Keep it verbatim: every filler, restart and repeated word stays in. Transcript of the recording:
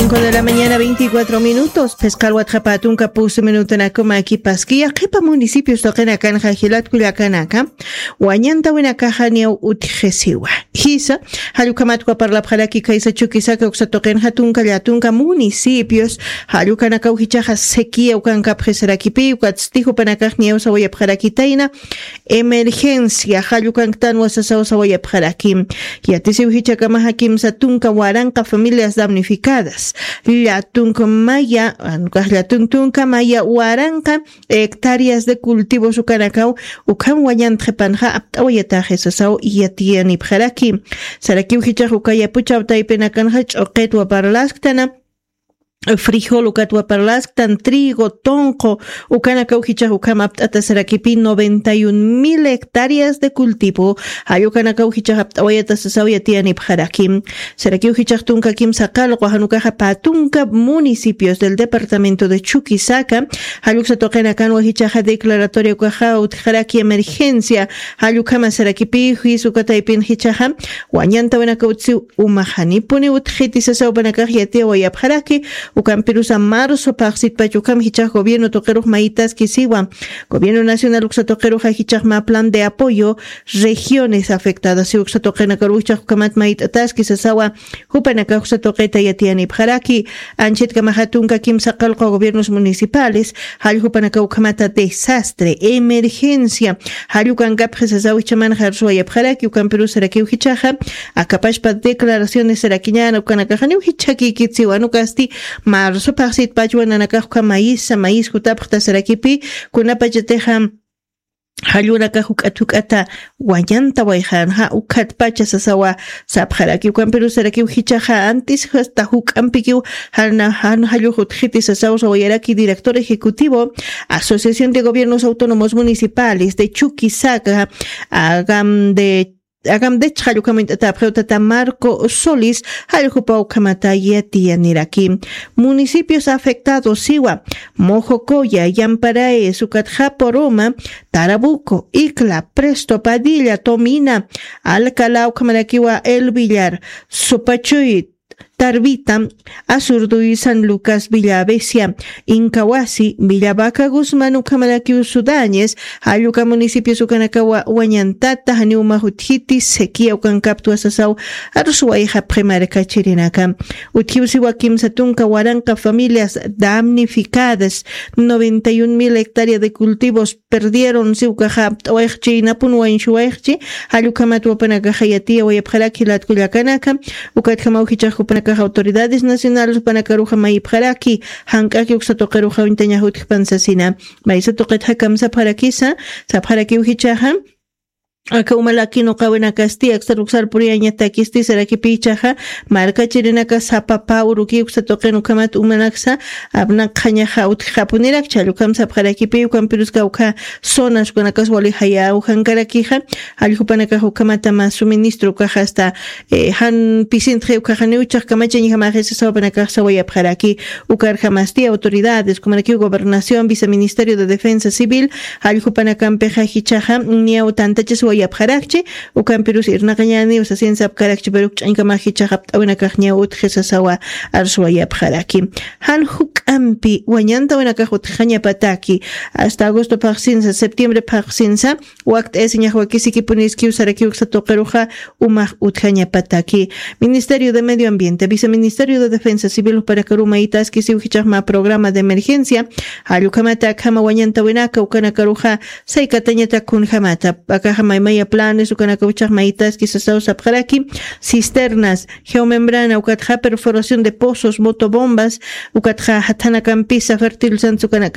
Con la mañana veinticuatro minutos, pescal watxapa tunka pusu minutanakuma kipaski, yaqipa municipios toqinakanxa jilat kullakanaka, wañantawinakaxa niyaw utjisiwa. Jisa, jallukamatkwa parlapxaraki kaysa Chuquisaca uksa toqinxa tunka llatunka municipios, jallukanakaw jichaxa sequía ukankapxisarakipi, ukatsti jupanakax niyaw sawayapxarakitayna, emergencia, jallukanktanwa sasaw sawayapxaraki. Yatisiw jichakamaxa kimsa tunka waranqa familias damnificadas. Llatunk maya, anukax llatunk tunka maya waranqa hectáreas de cultivos ukanakaw, ukham wañantxipanxa apt'awayataxi sasaw yatiyanipxaraki. Sarakiw jichax uka yapuchaw taypinakanxa ch'uqitwa parlasktana, frijol ukatwa parlasktan, trigo, tonqo, ukanakaw jichax ukham apt'ata sarakipi noventa y un mil hectáreas de cultivo, jallukanakaw jichax apt'awayata sasaw yatiyanipxaraki. Sarakiw jichax tunka kimsa qallqu, janukaxa pä tunka municipios del departamento de Chuquisaca, jalluksa tuqinakanwa jichaxa declaratoria ukaxa utjaraki emergencia, jallukhama sarakipi, juicio uka taypin jichaxa, wañantawinaka utsiw umax janipuni utjiti sasaw jupanakax yatiyawayapxaraki, ukampirusa marzo phaxsitpach ukham jichax gobierno tuqirux mayitaski siwa. Gobierno nacional uksa tuqiruxa jichax mä plan de apoyo regiones afectadas, si uksa tuqinakaruw jichax ukhamat mayt'ataski sasawa, jupanakax uksa tuqita yatiyanipxaraki, anchitkamaxa tunka kimsa qallqu gobiernos municipales, jall jupanakaw ukhamata desastre, emergencia, jallukankapxi sasaw jichhamanxa arsuwayapxaraki, ukampirus sarakiw jichaxa, akapachpa declaraciones sarakiñäna ukanakaxaniw jichhakïkit siwa, anukasti marzo phaxsitpachwa nanakax ukham mayisa, mayis jutapxta sarakipi, kunapachatixa, jallunakax juk'at juk'ata wañantawayxänxa, ukhatpacha sasawa sapxaraki, ukampirus sarakiw jichaxa, antis hasta juk'ampikiw, jan, jan jallux utjiti sasaw sawayaraki director ejecutivo, Asociación de Gobiernos Autónomos Municipales de Chuquisaca, agam de Agam de chhallukhamuñt'atapxiw tata Marco Solís, jalljupaw ukhamata yatiyaniraki. Municipios afectados siwa, Mojocoya, Yamparae, Sucatjaporoma, Tarabuco, Icla, Presto, Padilla, Tomina, Alcalá, ukhamarakiwa El Villar, Supachuy, Tarvita, Azurduy, San Lucas, Villa Avesia, Incahuasi, Villa Vaca Guzmán, ukhamarakiw Sudañes, jalluka municipios ukanakawa wañantata, janiw umax utjiti, sequía ukankaptwa sasaw, arsuwayxapxi markachirinaka. Utjiw siwa kimsa tunka waranqa familias damnificadas, noventa y un mil hectáreas de cultivos, perdieron, si ukaxa apt'awayxchi, napun wañsuwayxchi, jallukhamat jupanakaxa yatiyawayapxaraki jilat kullakanaka, ukatjamaw jichax jupanakaxa autoridades nacionales jupanakaruxa mayipxaraki, jank'aki uksa tuqiruxa uñtañax utjpan sasina. Maysa tuqit jakamsapxarakisa, sapxarakiw jichaxa, aka umalaki nuqawinakasti, aksar uksar puriyañatakisti, sarakipi jichaxa, markachirinaka sapa pä uruki uksa tuqin ukhamat umanaksa, apnaqxañaxa utjxapunirakchi, jallukhamsapxarakipi, ukampiruska ukha zonas ukanakas wali jayäw jankarakixa, jalljupanakax ukhamata mä suministro ukaxa hasta, eh, jan pisintxi ukaxaniw jichhax kamachañjamaxi sasaw jupanakax sawayapxaraki, ukarjamasti autoridades, ukhamarakiw gobernación, viceministerio de defensa civil, jalljupanakampix jichhaxa, niyaw tantachasiwayapxarakchi, ukampirus irnaqañäniw sasin sapkarakchi, pero ukch'añkamax jichhax apt'awinakax niyaw utji sasawa arsuwayapxaraki. Jan juk'ampi wañantawinakax utjañapataki, hasta agosto phaxsinsa, septiembre phaxsinsa, wakt'ayasiñax wakisikipuniskiw sarakiw uksa tuqiruxa umax utjañapataki. Ministerio de Medio Ambiente, Viceministerio de Defensa Civil jupanakaruw mayitaskisiw jichax mä programa de emergencia, jallukhamata akhama wañantawinaka ukanakaruxa saykatañatak kunjamata, akaxa maymaya planes ukanakaw jichax mayitaski sasaw sapxaraki, cisternas, geomembrana, ukatxa perforación de pozos, motobombas, ukatxa jathanakampisa fertilizantes ukanakam